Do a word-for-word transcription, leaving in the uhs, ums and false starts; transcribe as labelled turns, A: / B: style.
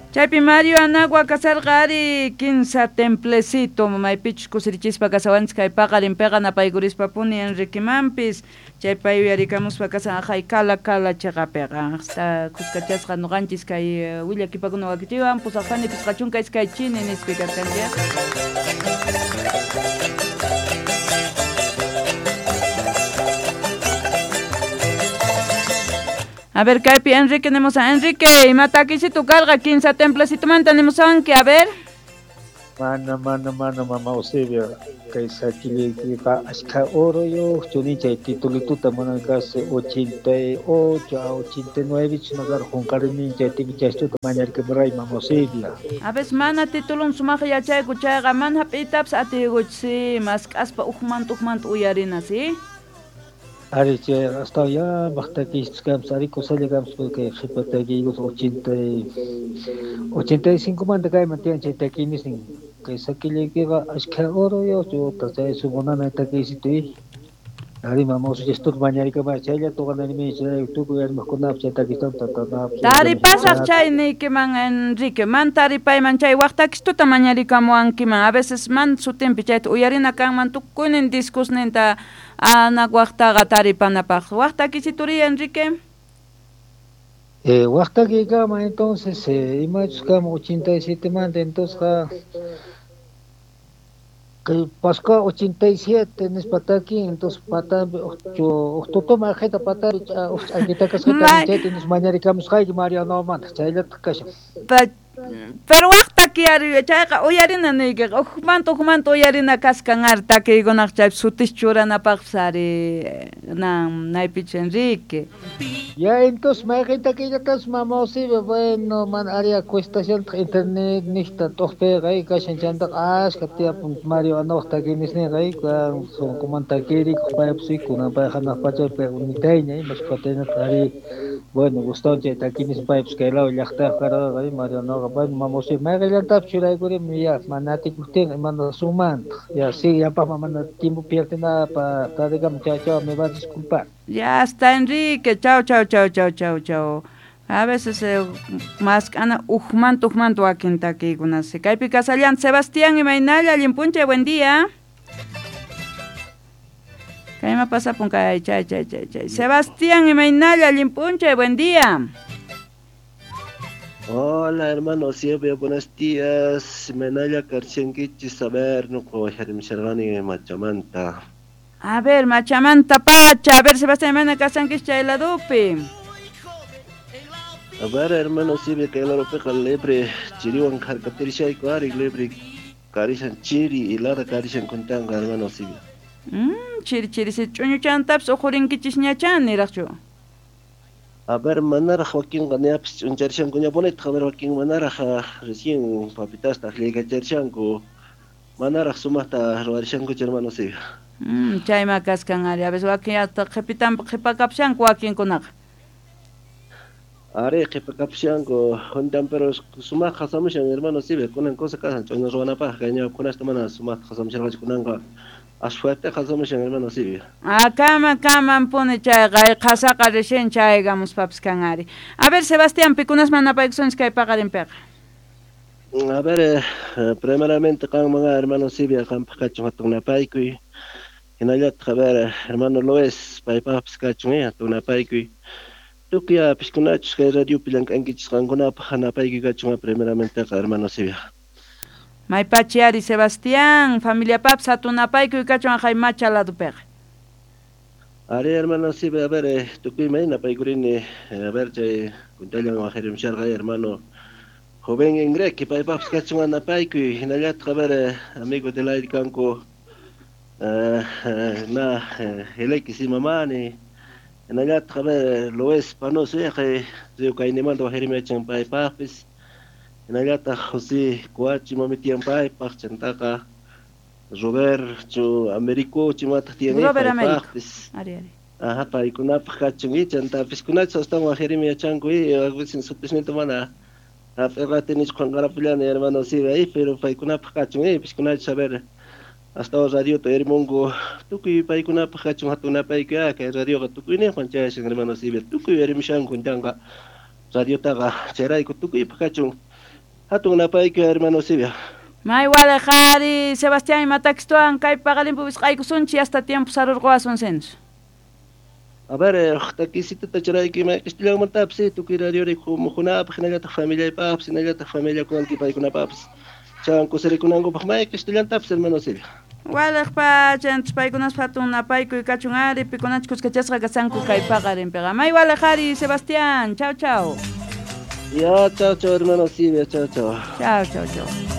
A: Chaypi Mario Anagua kasarqa ari kinsa templecito maypichus kusirichispa kasawanchis kay paqarinpiqa napaykurispa-puni Enriquemanpis chaypa yuyarikamuspa kasan aqhay kala kala chiqapiqa hasta kuskachasqa nuqanchis kay willakipakuna wakichiwan pusaq pani pisqa chunka iskay chini nispi kaskanchik. A ver, kaypi Enrique nimusan. Enrique, ima takisito karqa kinsa templecitomanta nimusanki, a ver.
B: Mana, mana, mana, mama Eusebia, kay sakiliykiqa ashka oro chunichay titulituta mana casi ochenta y ocho a ochenta y nueve chunakar junqarimin chay tikichaystuta mañarkimuray mama Eusebia.
A: A veces mana titulun sumaq yachayku chayqa mana hap'iytapas atiykuchis mask'aspa ujmanta ujmanta uyarina, ¿sí?
B: Ari chay hasta ya baqtakistus kampas ari kusalla kampas kay qhipa takiykus ochenta y ochenta y cinco manta kayman tiyan chay takiynisnin kay sakillaykiqa ashkha oro chuta chay sumunana takiysitu ari mama usullastuta mañarikamay chaylla tuqananimi chay tukuy armaqkunapas chay takistan tatanapas
A: taripasaq chay niykiman Enrique man taripayman chay waq takistuta mañarikamuwankiman a veces man sutinpi chayta uyarina kanman tukuynin discusninta anak waqtaqa taripanapaq waq takisituri Enrique.
B: Eh, waq takiykama entonces eh, imachus kama ochenta y siete manta entonces kay Pascua ochenta y siete nispa takin entonces patampi uqtutuma aqhita patampi ch'akita kasqata chayta nis mañarikamusqayki Mariano manta chayllataq kashan.
A: Pero waq takiyari chayqa uyarina niykiqa ujmanta ujmanta uyarina kaskan ari takiykunaq chaypi sutis churanapaqpas ari nan naypichu Enrique.
B: Ya entonces mayqin takiyllatas mama Eusebia bueno mana ari cuestaciontaq internet niqta t'uqpiqa kashan chantaqa ashka tiyapun Mario Anawaq takiynisninqa sunqumanta takirikuq paypas kunan pay hanaq pachapi unitayña imashpataynataq ari bueno gustawan chay takiynis paypas kay law llaqtayuq karqa Mario Anawqa bueno mama Eusebia mayqillantapis churaykurimi ya mana atikuqtinqa imana sumantaq ya sí yapaqman mana tiempo pierdenapaq tadikama chao chao me vas a disculpar.
A: Ya está Enrique, chao chao chao chao chao chao. A veces eh, mask'ana ujmanta ujmanta wakin takiykunasi. Kaypi kasallanta Sebastián imaynalla allin p'unchay, buen día. Kayma pasapun kay chay chay chay chay. Sebastián imaynalla allin p'unchay, buen día.
C: Hola hermano Silvia, buenos días. Imaynalla karchankichis, a ver, no puedo machamanta.
A: A ver, machamanta pacha, a ver Sebastián, imayna kasankichis chay ladupi.
C: A ver, hermano Silvia, kay ladupiqa libre chiriwan harkatirishayku ari libre karishan chiri hilada karishan kuntanqa hermano Silvia.
A: Mm, chiri chiri si ch'uñuchantapis uqhurinkichis ñachan niraqchu.
C: A ver, manaraq wakinqa ñapis ch'uncharishanku ñapunitaq, a ver wakin manaraq recién papitasta aqllaykacharishsanku manaraq sumaqta ruwarishankuchu hermano Silvia.
A: Mm, chayma kaskan ari, a veces wakin hasta qhipitanpi qhipakapushanku wakinkunaqa.
C: Ari qhipakapushanku juntan pero sumaq qasamushan hermano Silvia kunan cosa kasan ch'uñu ruwanapaq kay ñawpaqkunasta mana sumaqta qasamusharqachu kunanqa as fuerte qasamushan hermano Silvia.
A: Ah, kama kamanpuni chayqa qasaqa recién chaygamuspapis kan ari. A ver Sebastián, pikunasman napaykusunchis kay paqarinpiqa.
C: A ver, eh, primeramente qanman hermano Silvia qampaq kachun hatun napaykuy. Hinallataq a ver hermano Luis paypaqpis kachun hatun napaykuy. Tukuy piskunachus kay radiopi llank'ankichis qankunapaq napaykuy kachun primeramenteqa hermano Silvia.
A: Maypachi ari Sebastián, familiapapis hatun napaykuy kachun aqhay macha ladupiqa.
C: Ari hermano Silvia, a ver, eh, tukuy may napaykurini, a ver chay kuntallan waqharimusharqa hermano joven Enrique paypaqpis kachun napaykuy hinallataq a ver amigo del aire kanku eh, na Heleki Simamani hinallataq a ver Luis Panoso río kaynimanta waqharimuyachan paypaqpis hinallataq José Cuachi mamitiyan paypaq chantaqa Roberto Américo chimataq tiyan
A: Robert Américo.
C: paypaqpis.
A: Ari ari.
C: Ajá, paykunapaq kachun chantapis kunachus astawan waqharimi yachanku sutisninta mana hap'irqatinichu qunqarapullani hermano Silvia pero paykunapaq kachun piskunachus a ver astawan radiota uyarimunku tukuy paykunapaq kachun hatun napaykuy kay radioqa tukuyninwan chayashan hermano Silvia tukuy uyarimushanku chanqa radiotaqa chayrayku tukuypaq kachun Hatun napaykuy hermano Silvia.
A: May wale qhari Sebastián imatakstuan kay paqarinpi wisq'aykusunchik hasta tiempo sarurquwasun sinchu.
C: A ver, takisitata churayki mayqistillanmantapis tukuy radiori muhunapaq hinallataq familiaypaqpis hinallataq familiakunan paykunapaqpis chan kusirikunankupaq mayqistillantapis hermano Silvia.
A: Waliq pacha paykunas hatun napaykuy kachun ari pikunach kuskachasqa kasanku kay paqarinpiqa. May waliq ari Sebastián, chao chao.
C: Ya, chao chao hermano Silvia, chao chao.
A: Chao chao chao.